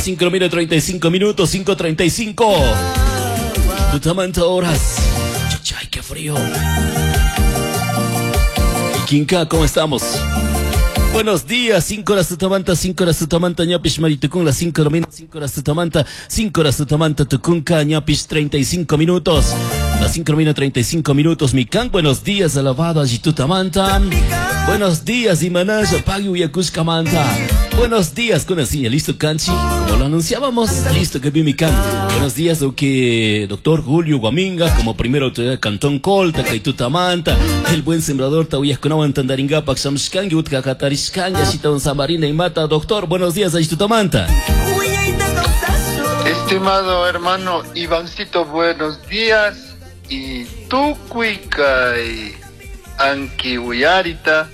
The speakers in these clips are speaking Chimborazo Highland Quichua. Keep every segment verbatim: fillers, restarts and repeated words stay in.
Las cinco treinta y cinco minutos, cinco treinta y cinco. Tutamanta horas. Chachay, qué frío. Quinca, ¿cómo estamos? Buenos días, cinco horas tutamanta, cinco horas tutamanta, ñapish maritucun, las cinco de la mañana, cinco horas tutamanta, cinco horas tutamanta, tucunca, ñapish treinta y cinco minutos, las cinco de la mañana, treinta y cinco minutos, mican, buenos días, alabado, allitutamanta, buenos días, imanaya, pagui, uyacushcamanta, buenos días, con así, listo, canchi, como lo anunciábamos, listo, que vi mican, buenos días, que doctor Julio Guaminga, como primera autoridad Cantón Colta, Kaitutamanta, el buen sembrador, Tauyasconawan, Tandaringapa, Xamxcangi, Utcacatari, y Mata, doctor, buenos días, Aishtutamanta. Estimado hermano Ivancito, buenos días. Y tukuykay anki uyarita,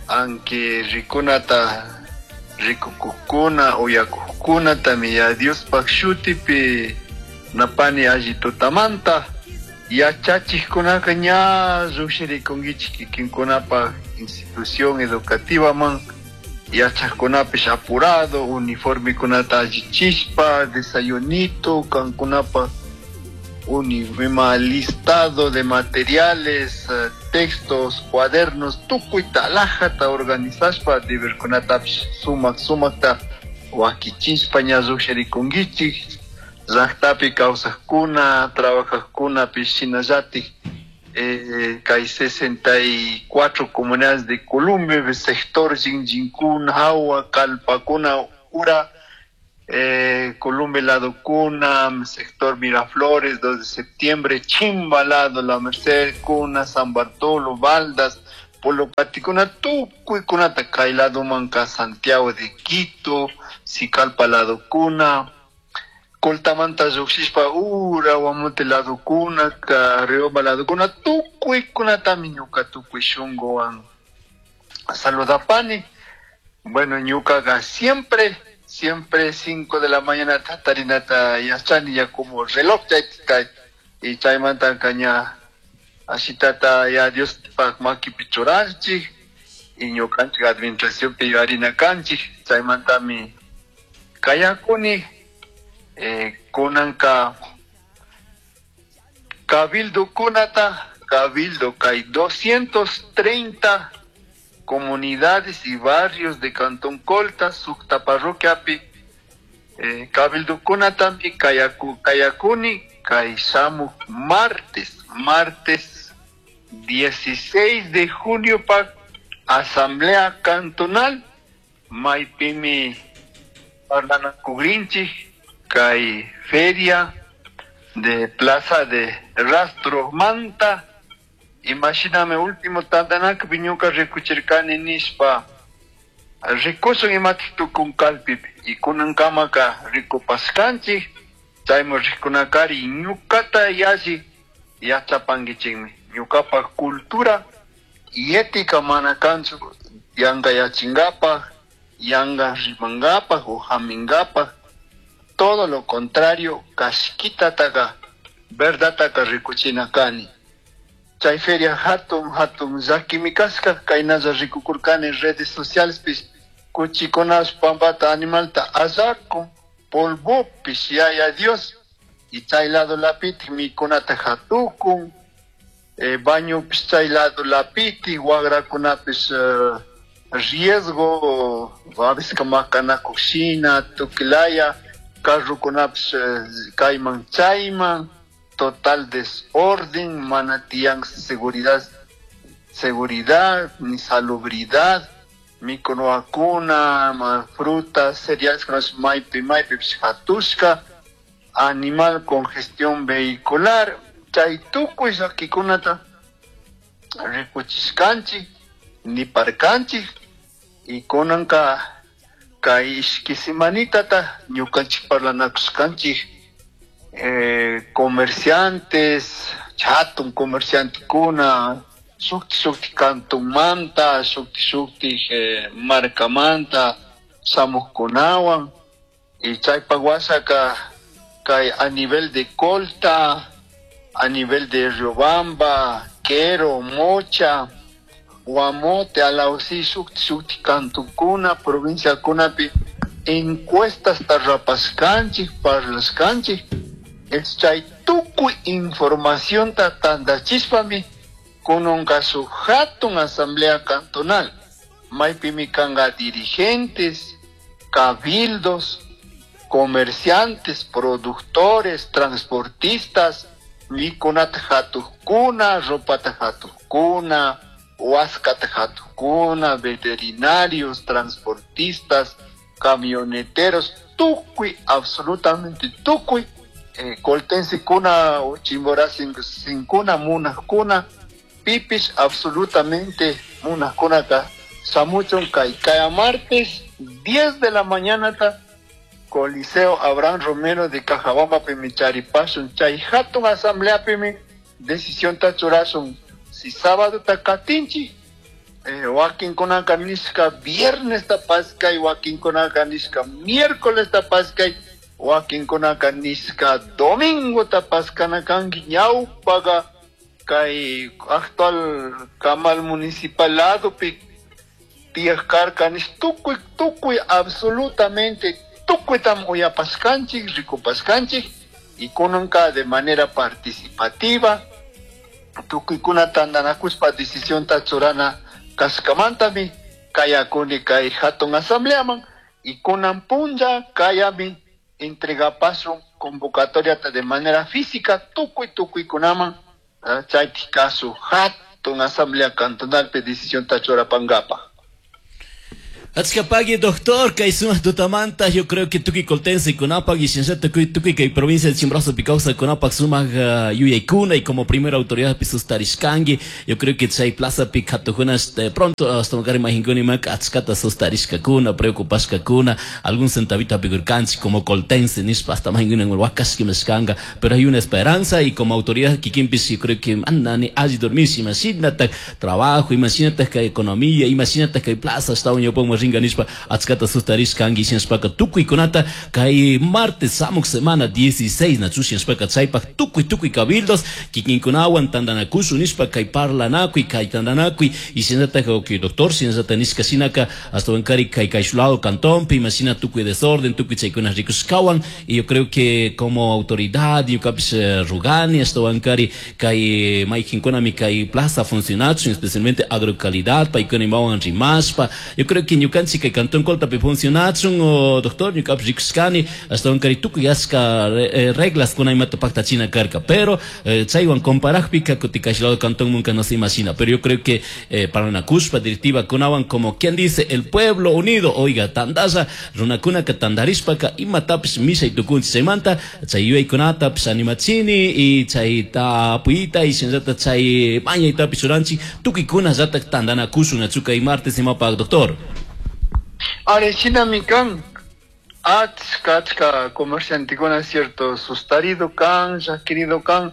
anki rikunata, rikukukuna, uyakukuna, tamiya Dios pakshutipi, napani allitutamanta, yachachikkunaka ña llushirikunkichik kikinkunapaj institución educativa man, yachajkunapish apurado, uniformekunata allichispa, desayunito, kankunapa unima listado de materiales, textos, cuadernos, tukuyta alajata organizashpa, deberkunatapish sumak sumakta wakichispa ña llushirikunkichik, llaqtapi kawsajkuna, trabajajkunapish shinallatik. Eh, kay sesenta y cuatro comunidades de Colombia, sector Jinjinkun, Hawa, Kalpakuna, Ura, eh, Colombia Lado Cuna, sector Miraflores, dos de septiembre, Chimbalado, La Merced, Cuna, San Bartolo, Baldas, Polopaticuna, Tucuicunata, Kailado Manca, Santiago de Quito, Sicalpa Lado Cuna, Coltamanta lluqshishpa ura Guamote ladukuna, Riobamba ladukuna, tukuykunatami ñuka tukuy shunkuwan saludapani. Bueno, ñukaqa siempre, siempre cinco de la mañana tatarinata yachani ya como reloj chaytika y chaymanta ña ashitata ya Dios pak makipi churanchik y ñukanchik administracionpi yuarina kanchik, chaymantami kayakuni. Eh, kunanka Cabildo kunata, Cabildo kay doscientos treinta comunidades y barrios de Cantón Colta, Sucta parroquiapi, eh, Cabildo kunatami kayaku, kayakuni, kay shamu martes, martes dieciséis de junio pa Asamblea Cantonal, maypimi parlanakurinchik, kay feria de Plaza de Rastro Manta. Imagíname último tandanak viñuka rikuchirkani nishpa rikusun imatik tukun kalpipi y kunankamaka rikupaskanchik chaymi rikunakari ñukata yalli yachapankichikmi ñukapa cultura y ética mana kanchu yanka yachinkapak yanka rimankapak o haminkapak. Todo lo contrario, kashkitataka, verdataka rikuchinakani. Chay feria hatun, hatun, llakimi kashka, kaynalla rikukurkani redes sociales pis, kuchikunash pampata animalta allakun, polvopish, yaya Dios, y chay lado lapitik mikunata hatukun, eh, bañopis chay lado lapitik, wagrakunapis, eh, riesgo, a veces makanakushina, tukilaya, carrokunapish kayman chayman, total desorden, mana tiyan seguridad, seguridad, ni salubridad, mikunuakuna, frutas, cereales, maypi, maypi, hatushka, animal con gestión vehicular, chay tukuy llakikunata rikuchishkanchik, niparkanchik, y kunanka kay ishki semanitata ñukanchik parlanakushkanchik, eh, comerciantes, hatun comerciantekuna, shukti shukti kantunmanta, shukti shukti, eh, markamanta shamuqkunawan, y chaypak wasaka kay a nivel de Colta, a nivel de Riobamba, Quero, Mocha, Guamote, Alausí, shukti shukti kantunkuna, provincia kunapi, Encuestas tarrapashkanchik, parlashkanchik, chay tukuy informacionta tandachishpami kununka shuk hatun asamblea cantonal, maypimi kanka dirigentes, cabildos, comerciantes, productores, transportistas, mikunata hatukkuna, ropata hatukkuna, huascata hatukkuna, veterinarios, transportistas, camioneteros, tukuy, absolutamente tukuy, eh, coltensekuna, chimboracinkuna, munajkuna, pipis, absolutamente munajkunaka, shamuchun kay kaya martes, diez de la mañana ta, Coliseo Abraham Romero de Cajabamba pimi charipashun, chay hatun asamblea pimi decisión ta churashun, si sábado ta katinchi, eh, wakinkunaka nishka viernes ta paskay, wakinkunaka nishka miércoles ta paskay, wakinkunaka nishka domingo ta paskana kanki, ñawpaga kay actual kamal municipal ladopi tiyaj karka nish tukuy, tukuy absolutamente tukuytam uyapashkanchik, rikupashkanchik, y kunanka de manera participativa tukuykuna tantanakushpa decisión ta churana kashkamantami kayakuni kay hatun asambleaman, y kunan punlla kayami entregapashun convocatoria de manera física tukuy tukuykunaman, chaytik kasu hatun asamblea cantonalpi decisión ta churapangapaj. Achkapagui, doctor, kay sumaq tutamanta, yo creo que tukuy coltense kunapak y shinllatak tukuy, tukuy kay provincia de Chimborazo kawsaj kunapak sumaq, uh, yuyaykuna y como primera autoridad sustarishkanki, yo creo que chay plaza pi katukuna de pronto hasta magari mahinkuni mak achkata sustarishkakuna, preocupashkakuna, algún centavito pigurkanchik como coltense nishpa hasta mahinkuni wakashkimashkanka, pero hay una esperanza y como autoridad kikinpis yo creo que andani alli dormir, imagínate trabajo, imagínate que economía, imagínate que plaza hasta un yopongo ringa nishpa achkata sustarishkanki shinashpaka tukuykunata kay martes samuk semana dieciséis nachu shinashpaka chaypak tukuy tukuy cabildos kikinkunawan tantanakushun nishpa kay parlanakuy kay tantanakuy y shinallatak okay doctor shinallatak nishka shinaka hasta wankari kay kayshulado cantonpi imashina tukuy desorden tukuy chaykuna rikushkawan y yo creo que como autoridad ñukapish rugani hasta wankari kay maykinkunami kay plaza funcionachun especialmente agrocalidad paykuna imawan rimashpa yo creo que ñukanchik kay cantón Coltapi funcionachun o doctor ñukapish rikushkani hasta wankari tukuy achka eh, reglas kuna imata paktachina karka pero eh, chaywan comparajpika kutin kayshulado cantón nunca no se imagina pero yo creo que eh, para una kushpa directiva kunawan como quien dice el pueblo unido oiga tandalla runakunaka tandarishpaka imatapish mishay tukunchik chaymanta chay yuyaykunatapish animachini y chayta apuyta y shinallata chay mañaytapish churanchik tukuykuna llatak tantanakushun nachu kay martes imapak doctor. Are shinami kan achka achka comerciantekuna cierto sustarido kan llakirido kan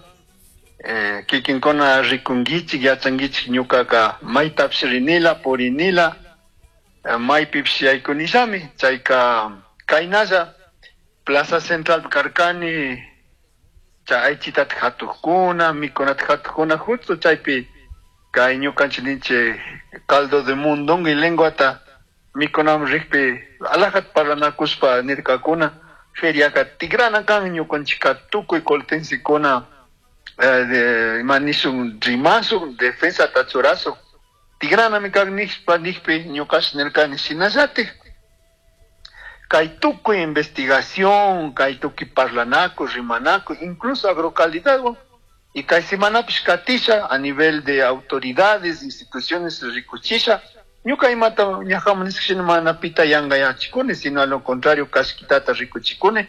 eh, kikinkuna rikunkichik yachankichik ñukaka maytapish rinila purinila eh, maypipish yaykunillami chayka kaynalla Plaza Central karkani chay aychitata hatukkuna mikunata hatukkuna justo chaypi kay ñukanchik ninchik caldo de mondongo y lenguata mikunaman rikpi alajata parlanakushpa nirkakuna feriaka tigrana kan ñukanchikka tukuy coltensekuna eh, de ima nishun rimashun defensata churashun tigranami kan nishpa nishpi ñukash nirkani shinallatik kay tukuy investigación kay tukuy parlanakuy rimanakuy incluso agrocalidadwan y kay semanapish katisha a nivel de autoridades instituciones rikuchisha ñuka imata ñajaman nishka mana pita yankayachikuni sino a lo contrario kashkitata rikuchikuni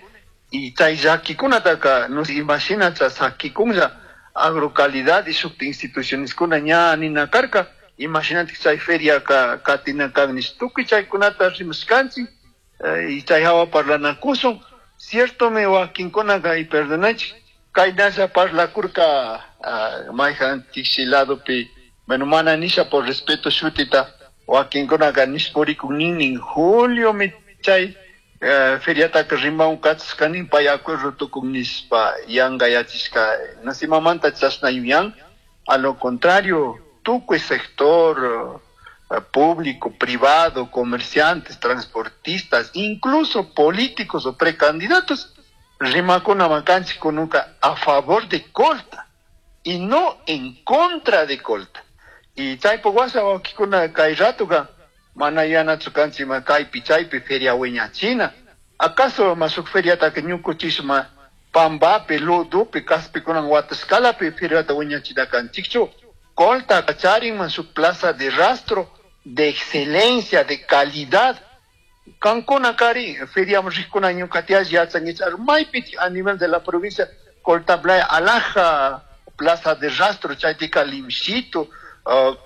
y chay llakikunataka no imagina sakikunlla agrocalidad y shukta institucioneskuna ña nina karka imagínate chay feria ka katina kan nish tukuy chaykunata rimashkanchik eh, y chay hawa parlanakushun cierto me wakinkunaka y perdonachik kaynalla parlakurka uh, mayjan tiksi ladopi bueno mana nisha por respeto shutita wakinkunaka nish purikun nin julio mi chay eh, feriataka rimaun kachashkani pay acuerdo tukun nishpa yankayachishka no sé imamanta chashna yuyan a lo contrario tukuy sector público, privado, comerciantes, transportistas, incluso políticos o precandidatos, rimakuna makanchik kununka a favor de Colta y no en contra de Colta. Y chaypuk washa wawkikuna kay ratuka mana yanachu kanchik ma kaypi chaypi feria wiñachina. ¿Acaso ma shuk feriataka ñukuchishma pambapi, ludupi, kaspikunan watashkalapi feriata wiñachina kanchikchu? Colta charinman shuk plaza de rastro de excelencia, de calidad. Kankuna kari feriaman rikkuna ñukatiash yachankichik maypi a nivel de la provincia Colta Playa alhaja plaza de rastro chaytika limshito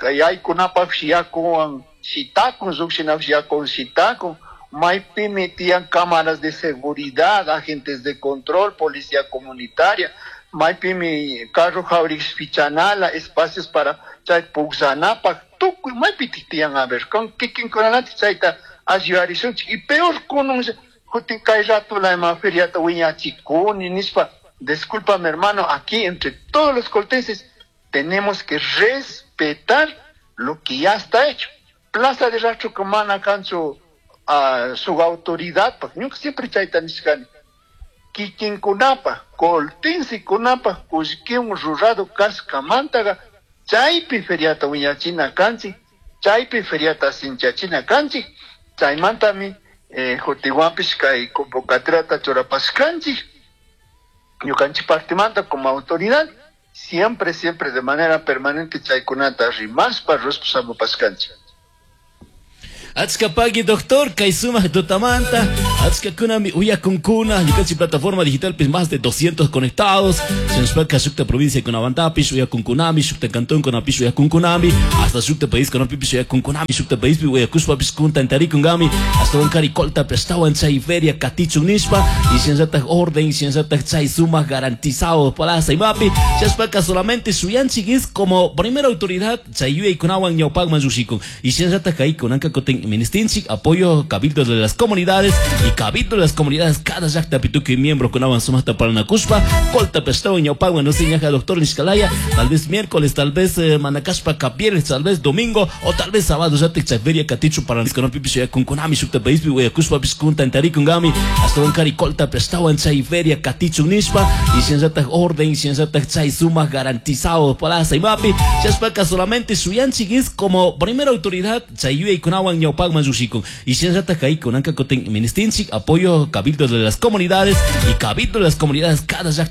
yaykunapakpish yakuwan shitakun llukshinapish yakuwan shitakun maypimi tiyan cámaras de seguridad, agentes de control, policía comunitaria, maypimi carro jawrish pichanala, espacios para chay pukllanapaq tukuy maypitik tiyan a ver con kikinkunalatik chayta ayudarishunchik y peor kunun jutin kay ratula ima feriata wiñachikuni nishpa. Discúlpame hermano, aquí entre todos los coltenses tenemos que respetar lo que ya está hecho. Plaza de Rastro mana kanchu a su autoridad, ñuka siempre chayta nishkani kikinkunapaq coltensekunapaq kullkiwan rurado kashkamantaqa chaypi feriata wiñachina kanchik, chaypi feriata sinchachina kanchik, chaymantami eh, jutiwanpish kay convocatoriata churapashkanchik ñukanchik partimanta como autoridad siempre, siempre de manera permanente chaykunata rimashpa rushpa. Achka pagui doctor, kay sumak tutamanta, achka kunami uyakunkuna, ñukanchik plataforma digital pues más de doscientos conectados, shinashpaka shukta provincia kunamantapish uyakunkunami, shukta cantón kunapish uyakunkunami, hasta shukta país kunapipish uyakunkunami, shukta paispi uyakushpapish kuntantarikunkami, ashtawan kari Colta ashtawan chay feria katichun nishpa, y shinallatak orden, shinallatak chay sumak garantizado plaza imapi, shinashpaka solamente shuyanchik es como primera autoridad chay yuyaykunawan ñawpakman llushikun, y shinallatak kay kunanka kutin ministinchik apoyo cabildo de las comunidades y cabildo de las comunidades cada llaqta pituki miembro kunawan sumaqta parlanakushpa Colta ashtawan ñawpakman no sé ñaja doctor nishkalaya tal vez miércoles, tal vez eh, manakashpa kapiernes, tal vez domingo o tal vez sábado llatik chay feria katichu para kunapipish uyakunkunami shukta paispi uyakushpapish kuntantarikunkami ashtawan kari Colta ashtawan chay feria katichun nishpa y shinallatak orden, shinallatak chay sumak garantizado plaza imapi shinashpaka solamente shuyanchik es como primera autoridad chay yuyaykunawan ñawpakman llushikun y shinallatak kay kunanka kutin ministinchik apoyo cabildo de las comunidades y cabildo de las comunidades cada llaqta.